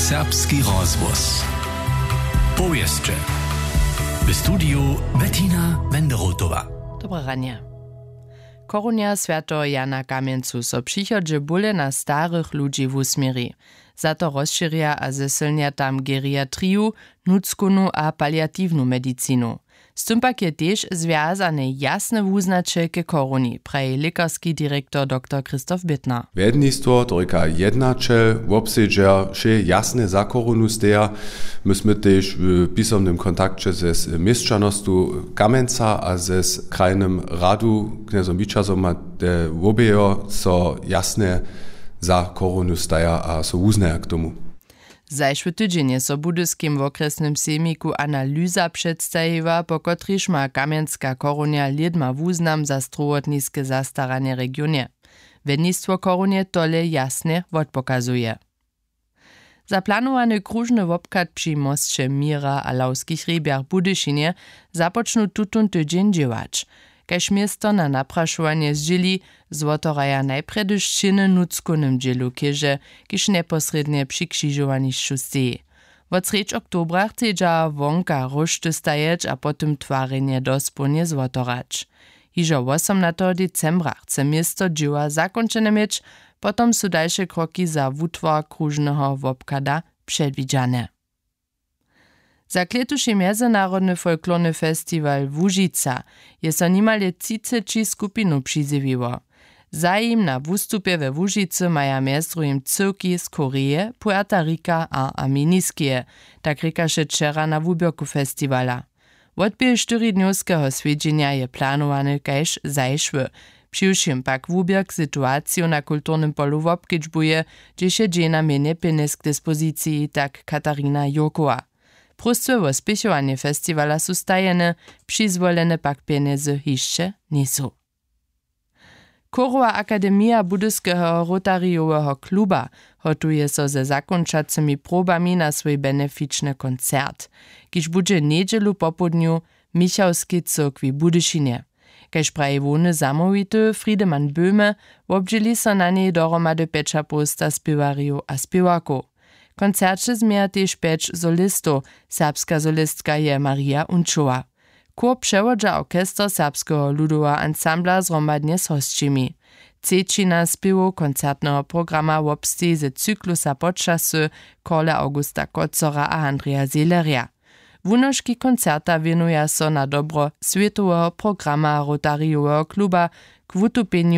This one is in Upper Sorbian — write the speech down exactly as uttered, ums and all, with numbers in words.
Serbski rozhłos. Powěsće. W studiju Bettina Wenderotowa. Dobre ranje. Korunja swjateho Jana Kamjencu so w přichodźe bóle na starych ludźi wusměri. Za to rozšěrja a zesylnja tam geriatriju, nutřkownu a paliatiwnu medicinu. Z tym pak je tež zwjazane jasne wuznaće ke koruni, praji lěkarski direktor doktor Christoph Bittner. Wjednistwo, to rěka jednaćel, wobsedźer wšě jasne za korunu steja. My smy tež w pisomnym kontakće ze měšćanostu Kamjenca a ze krajnym radu knjezom Wićazom a te wobejo so jasne za koronu staja a so wuznaja k tomu. Zašły tydźeń je so w budyskim wokrjesnym sejmiku analyza předstajiła, po kotrejž ma kamjenska korunja lědma wuznam za strowotniske zastaranje w regionje. Wjednistwo korunje tole jasnje wotpokazuje. Za planowany króžny wobchad při mosće Měra a Lawskich hrjebjach w Budyšinje započnu tutón tydźeń dźěłać. Kaž město na naprašowanje zdźěli, zwotoraja najprjedy w šćěnje nutřkownym dźělu chěže, kiž njeposrědnje při křižowanišću steji. Wot srjedź oktobra chcedźa wonka róšty stajeć a potom twarjenje dospołnje zwotorać. Hižo wosomnateho decembra chce město dźěła zakónčene měć, potom su dalše kroki za wutwar króžneho wobchada předwidźane. Za klětuši mjezynarodny folklorny festiwal Łužica je so nimale třiceći skupinow přizjewiło. Zajim na wustupje we Łužicy maja mjez druhim cyłki z Koreje, Puerta Rika a Armeniskeje, tak rěkaše wčera na wuběrku festiwala. Wotběh štyridnjowskeho swjedźenja je planowany kaž zašły. Přiwšěm pak wuběrk situaciju na kulturnym polu wobkedźbuje, hdźež je dźenja mjenje pjenjez k dispoziciji, tak Katarina Jurkowa. Próstwy wo spěchowanje festiwala su stajene, přizwolene pak pjenjezy hišće njejsu. Chórowa akademija Budyskeho Rotarijoweho kluba hotuje so ze zakónčacymi probami na swój benefičny koncert, kiž budźe njedźelu popołdnju w Michałskej cyrkwi w Budyšinje. Kaž praji hłowny zamołwity Friedemann Böhme, wobdźěli so na njej dohromady pjećapołsta spěwarjow a spěwarkow. W koncerće změja tež pjeć solistow. Serbska solistka je Maria Unčowa. Chór přewodźa orchester Serbskeho ludoweho ansambla zhromadnje z hosćimi. Třećina spěwow koncertneho programa wobsteji ze cyklusa Počasy Karla Augusta Kocora a Andreja Seelerja. Wunoški koncerta wěnuja so na dobro swětoweho programa Rotarijoweho kluba k wutupjenju